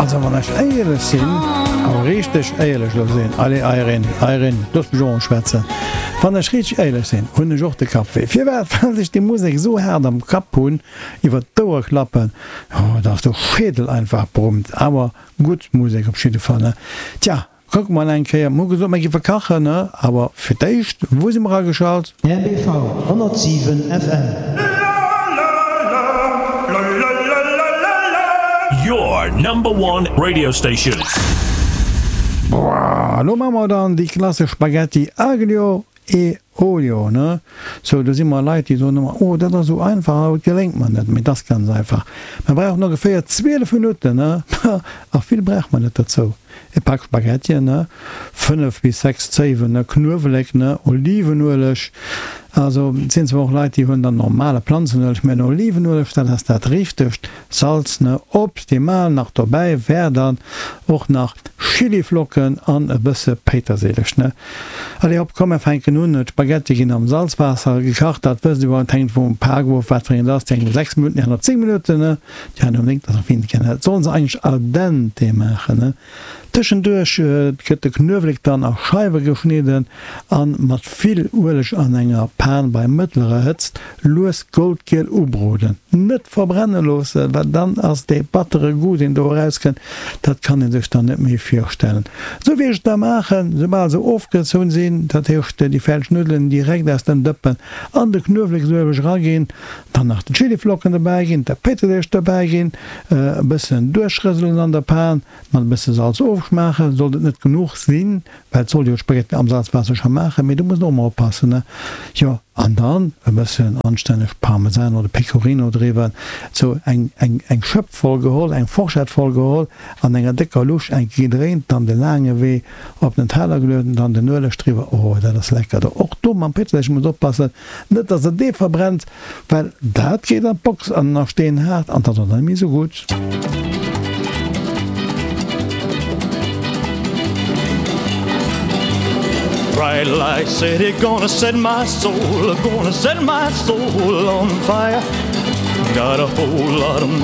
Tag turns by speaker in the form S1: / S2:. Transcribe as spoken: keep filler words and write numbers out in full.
S1: Also wann ech éierlech sinn, awer richteg éierlech elo sinn, allez Irene, Irene, looss mech och emol schwätzen, wann ech richteg éierlech sinn, hunn ech och de Kapp wéi. Firwat? Well ech déi Musek esou haart am Kapp hunn, iwwer d'Ouer klappen, oh, dass de Schädel einfach brummt. Awer gutt Musek op jidde Fall, ne? Tja, kucke mer eng Kéier, mer hu gesot, mer géife kachen, ne? Awer fir d'éischt, wou si mer ageschalt?
S2: R B V honnertsiwen F M.
S3: Your number one radio station.
S1: Boah, elo maache mer dann déi klassesch Spaghetti aglio e olio, ne? Sou, do si mer Leit, déi soen ëmmer, oh, dat ass esou einfach, awer et geléngt mer net. Mee et ass ganz einfach. Mer brauchen ongeféier zwielef Minutten, ne? A vill brauch mer net dozou. E Pak Spaghettien, ne? Fënnef bis sechs Zéiwen, ne? Knuewelek, ne? Olivenueleg. Also, et sinn zwar och Leit, déi huelen dann normale Planzenueleg, mä den Olivenueleg, dat ass dat Richtegt. Salz, ne? Optimal nach dobäi wär dann och nach Chiliflocken an e bësse Péitersilich, ne? Allez hopp, komm mer fänken un. D'Spaghetti ginn am Salzwaasser gekacht, dat wësst Dir, et hänkt vum Pak of, wat fir een et ass, déi eng hu sechs Minutten, déi aner zéng Minutten, ne? Déi aner hu néng, dat ass och wéineg, ne? Dat sollen se eigentlech al dente maachen, ne? Tëschenduerch gëtt de Knuewelek dann a Scheiwe geschnidden an mat vill Ueleg an enger Pan bei mëttlerer Hëtzt lues goldgiel ubroden. Net verbrenne loossen, well dann ass dee battere Goût deen do erauskënnt, dat kann ee sech dann net méi virstellen. Esou wéi ech et da maachen, soubal se ofgezunn sinn, dat heescht déi fäerdeg Nuddelen direkt aus dem Dëppen an de Knueweleksueleg eraginn, dann nach de Chiliflocken dobäi ginn, de Péitersilich dobäi ginn, e bëssen duerchrëselen an der Pan, Mat e bësse Salz ofschmaachen. Sollt et net genuch sinn, well et soll jo Spaghetti am Salzwaasser scho maachen, mee do muss een och emmer oppassen, ne? Jo, an dann e bëssen anstänneg Parmesan oder Pecorino driwwer. Sou eng eng eng Schëpp voll geholl, eng Forschett voll geholl, an enger décker Lusch eng Kéier gedréint, dann de laange Wee op den Teller gelueden, dann den Ueleg driwwer. Oh, dat ass lecker. Do och do mam Péitersilich muss oppassen, net dass der dee verbrennt, well dat geet an d'Box an ass steenhaart an dat ass dann net méi sou gutt.
S4: Bright light city gonna set my soul, gonna set my soul on fire. Got a whole lot of